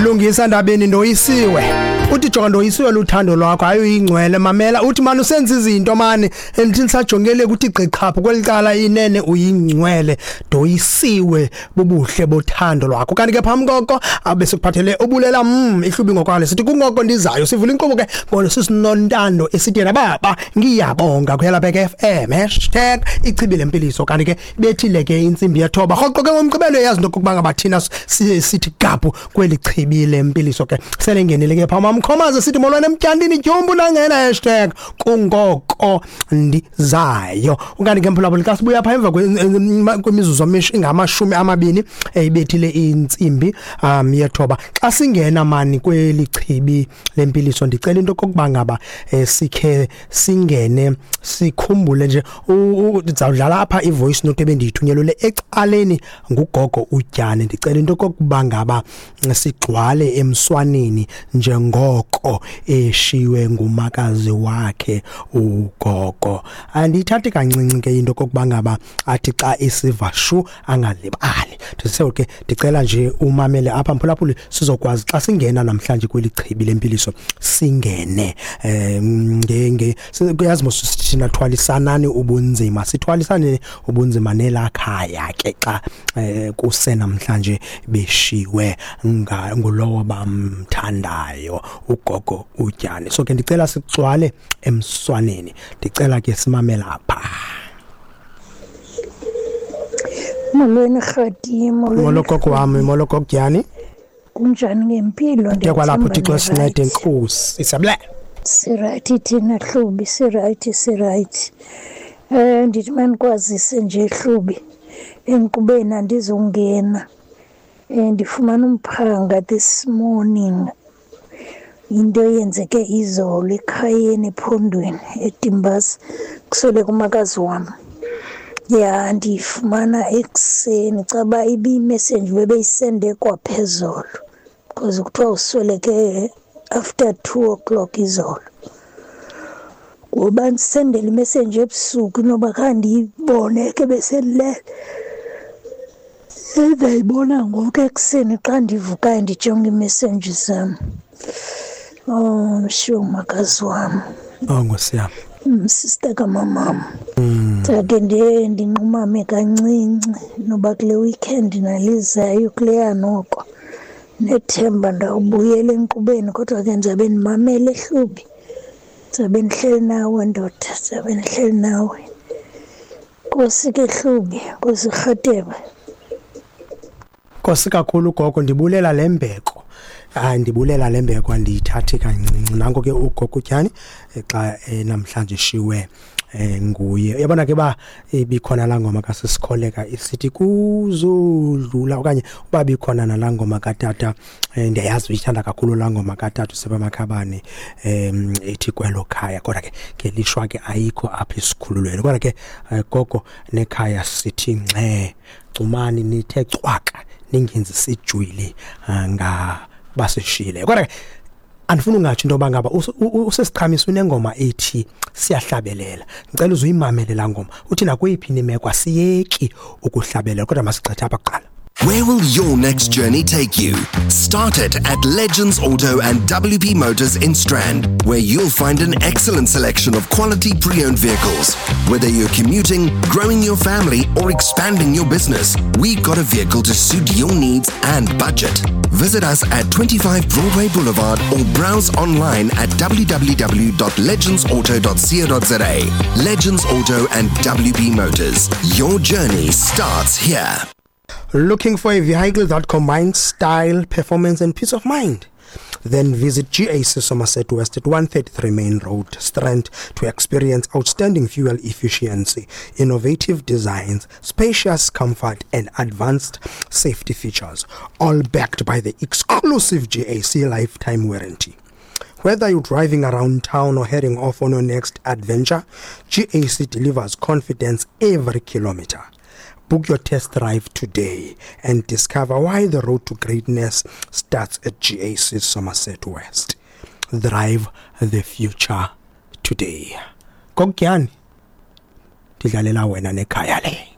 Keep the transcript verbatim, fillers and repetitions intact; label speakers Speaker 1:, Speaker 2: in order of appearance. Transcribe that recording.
Speaker 1: Lungisa Ndabeni, ndoyisiwe. Uthi jonga, ndoyisiwe luthando lwakho. Hayi, uyingcwele. Mamela, uthi mani usenza izinto mani endithi nisajongele ukuthi gqiqhaphu kwelicala. Inene uyingcwele, ndoyisiwe bubuhle bothando lwakho. Kanti ke phambi koko abe sikuphathele ubulela mm ihlubi ngokwale sithi kungoko ndizayo. Sivula inkqubo ke ngolo sisinontando esithi yena baba ngiyabonga kuyela bheke F M hashtag ichibi lempiliso. Kanti ke bethile ke intsimbi yethoba rhoqo ke ngomgqibelo, yazi into kokuba ngaba thina sithi gaphu kweli chibi lempiliso ke sele ngenile ke phaa mamkhomaze sithi molwana emtyandini tyumbu nangena hashtag kungoko ndizayo. Ukanti ke mphulaphuli, xa sibuya phaa emva kwemizuzu ingamashumi amabini ibethile intsimbi um yethoba, xa singena mani kweli chibi lempiliso, ndicela into kokuba ngaba eh, sikhe singene sikhumbule nje. Ndizawudlala apha i-voice note ebendiyithunyelwe ecaleni ngugogo uTyane. Ndicela into kokuba ngaba sigcwale emswaneni njengoko eshiywe ngumakazi wakhe ugogo. Andiyithathi kancinci ke into kokuba ngaba athi xa isiva shu angalibali. Ndise ke ndicela nje umamele apha mphulaphuli, sizokwazi xa singena namhlanje kweli chibi lempiliso singene um nge kuyazi mos thina thwalisanani ubunzima, sithwalisane ubunzima nelakhaya ke xa eh, kuse namhlanje beshiwe ngulowo bamthandayo, ugogo uTyane. So ke ndicela sicwale emswaneni, ndicela ke simamele apha.
Speaker 2: Molweni Rhadi, molweni.
Speaker 1: Molo gogo wami, molo gogo Dyani.
Speaker 2: Kunjani ngempilo?
Speaker 1: Ke kwalapho, Thixo sincede,
Speaker 2: Ndiyathemba.
Speaker 1: Enkosi, isabule.
Speaker 2: Si-right thina Hlubi, si-right, si-right. Eh ndithi manikwazise nje Hlubi. Enkqubeni andizongena. Eh ndifumana umphanga this morning. Into eyenzeke izolo ekhayeni ephondweni eDimbaza, kusweleke umakazi wam. Ya, ndiyifumana ekuseni, caba ibiyi-message bebeyisende kwaphezolo because kuthiwa usweleke after two o'clock izolo. Ngoba ndisendele imessage ebusuku, inoba khange ndiyibone ke, besendilele. Ndayibona ngoku ekuseni xa ndivukayo ndijonga ii-message zam. Oh, ndishiywe ngumakazi wam.
Speaker 1: Oh, Nkosi yami.
Speaker 2: Sister kamamam. Ndake ndiye ndinqumame kancinci noba kule weekend nalizayo kuleya noko. Nethemba ndawubuyela enkqubeni, kodwa ke ndizabe ndimamele Hlubi. Ndizabe ndihleli nawe ndoda, ndizabe ndihleli nawe. Nkosi ke Hlubi, Nkosi Rhatebe.
Speaker 1: Nkosi kakhulu gogo, ndibulela lembeko. Hayi, ndibulela lembeko, andiyithathi kancinci. Nanko ke ugogo uTyani xa eh, namhlanje shiwe eh, nguye. Uyabona ke ba ibikhona laa ngoma kaSisikholeka isithi kuzodlula, okanye uba bikhona nalaa ngoma katata, eh, ndiyayazi uyithanda kakhulu laa ngoma katata uSebamakhabane um ethi kwelo khaya, kodwa ke ngelishwa ke ayikho apha esikhululweni. Kodwa ke eh, gogo nekhaya sithi ngxe, cumani nithe cwaka, ningenzi sijwili nga basishile. Kodwa ke andifuni ungatsho into yoba ngaba usesiqhamisa unengoma ethi siyahlabelela. Ndicela uze uyimamele laa ngoma, uthi nakweyiphi imeko asiyeki ukuhlabelela, kodwa masigqithe apha kuqala.
Speaker 3: Where will your next journey take you? Start it at Legends Auto and W P Motors in Strand, where you'll find an excellent selection of quality pre-owned vehicles. Whether you're commuting, growing your family, or expanding your business, we've got a vehicle to suit your needs and budget. Visit us at twenty-five Broadway Boulevard or browse online at w w w dot legendsauto dot co dot za. Legends Auto and W P Motors. Your journey starts here.
Speaker 1: Looking for a vehicle that combines style, performance, and peace of mind? Then visit G A C Somerset West at one thirty-three Main Road, Strand, to experience outstanding fuel efficiency, innovative designs, spacious comfort, and advanced safety features, all backed by the exclusive G A C lifetime warranty. Whether you're driving around town or heading off on your next adventure, G A C delivers confidence every kilometer. Book your test drive today and discover why the road to greatness starts at G A C Somerset West. Drive the future today. Kokyani, ndidlalela wena nekhaya le.